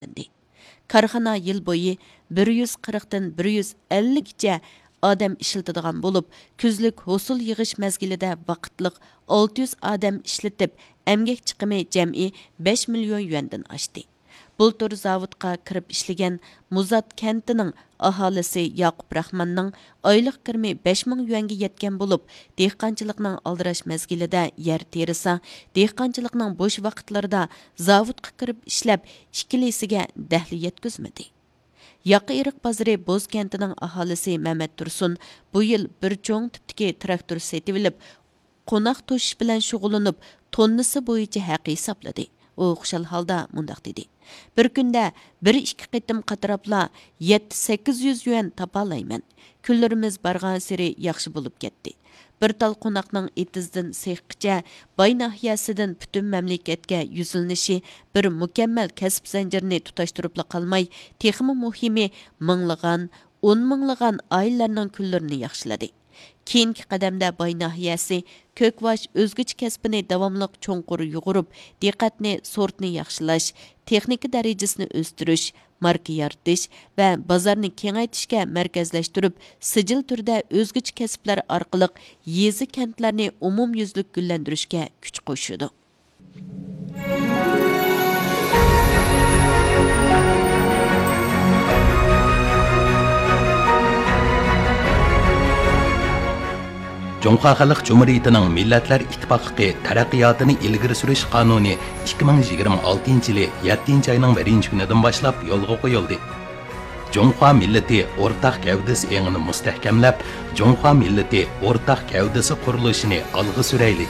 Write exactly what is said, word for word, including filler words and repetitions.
تەمىنلىدى. كارخانا يىل بويى بىر يۈز قىرىقتىن بىر يۈز ئەللىككىچە ئادەم ئىشلىتىدىغان بولۇپ، كۈزلۈك ھوسۇل يىغىش مەزگىلىدە ۋاقىتلىق ئالتە يۈز ئادەم ئىشلىتىپ، ئەمگەك چىقىمى جەمئىي بەش مىليون يۈەندىن ئاشتى. بۇلتۇر زاۋۇتقا كىرىپ ئىشلىگەن مۇزات كەنتىنىڭ ئاھالىسى ياقۇپ راخماننىڭ ئايلىق كىرىمى بەش مىڭ يۈەنگە يەتكەن بولۇپ، دېھقانچىلىقنىڭ ئالدىراش مەزگىلىدە يەر تېرىسا، دېھقانچىلىقنىڭ بوش ۋاقىتلىرىدا زاۋۇتقا كىرىپ ئىشلەپ، ئىككىلىسىگە دەخلى يەتكۈزمىدى. ياقا ئېرىق بازىرى بوز كەنتىنىڭ ئاھالىسى مەمەت تۇرسۇن بۇ يىل بىر چوڭ تىپتىكى تىراكتور سېتىۋېلىپ، قوناق توشۇش بىلەن شۇغۇللىنىپ، توننىسى بويىچە ھەق ھېسابلىدى. ئۇ خۇشال ھالدا مۇنداق دېدى: «بىر كۈندە بىر ئىككى قېتىم قاتراپلا يەتتە سەككىز يۈز يۈەن تاپالايمەن. كۈنلىرىمىز بارغانسېرى ياخشى بولۇپ كەتتى. بىر تال قوناقنىڭ ئېتىزدىن سېخقىچە باي ناھىيەسىدىن پۈتۈن مەملىكەتكە يۈزلىنىشى بىر مۇكەممەل كەسىپ زەنجىرىنى تۇتاشتۇرۇپلا قالماي، تېخىمۇ مۇھىمى، مىڭلىغان، ئون مىڭلىغان ئائىلىلەرنىڭ كۈنلىرىنى ياخشىلىدى. كېيىنكى قەدەمدە باي ناھىيەسى كۆكۋاش ئۆزگىچە كەسپىنى داۋاملىق چوڭقۇر يۇغۇرۇپ، دىققەتنى سورتنى ياخشىلاش، تېخنىكا دەرىجىسىنى ئۆستۈرۈش، ماركا يارىتىش ۋە بازارنى كېڭەيتىشكە مەركەزلەشتۈرۈپ، سىجىل تۈردە ئۆزگىچە كەسىپلەر ئارقىلىق يېزا، كەنتلەرنى ئومۇميۈزلۈك گۈللەندۈرۈشكە كۈچ قوشىدۇ.» جۇڭخۇا خەلق جۇمھۇرىيىتىنىڭ مىللەتلەر ئىتتىپاقلىقى تەرەققىياتىنى ئىلگىرى سۈرۈش قانۇنى ئىككى مىڭ يىگىرمە ئالتىنچى يىلى يەتتىنچى ئاينىڭ بىرىنچى كۈنىدىن باشلاپ يولغا قويۇلدى. جۇڭخۇا مىللىتى ئورتاق گەۋدىسى ئېڭىنى مۇستەھكەملەپ، جۇڭخۇا مىللىتى ئورتاق گەۋدىسى قۇرۇلۇشىنى ئالغا سۈرەيلى!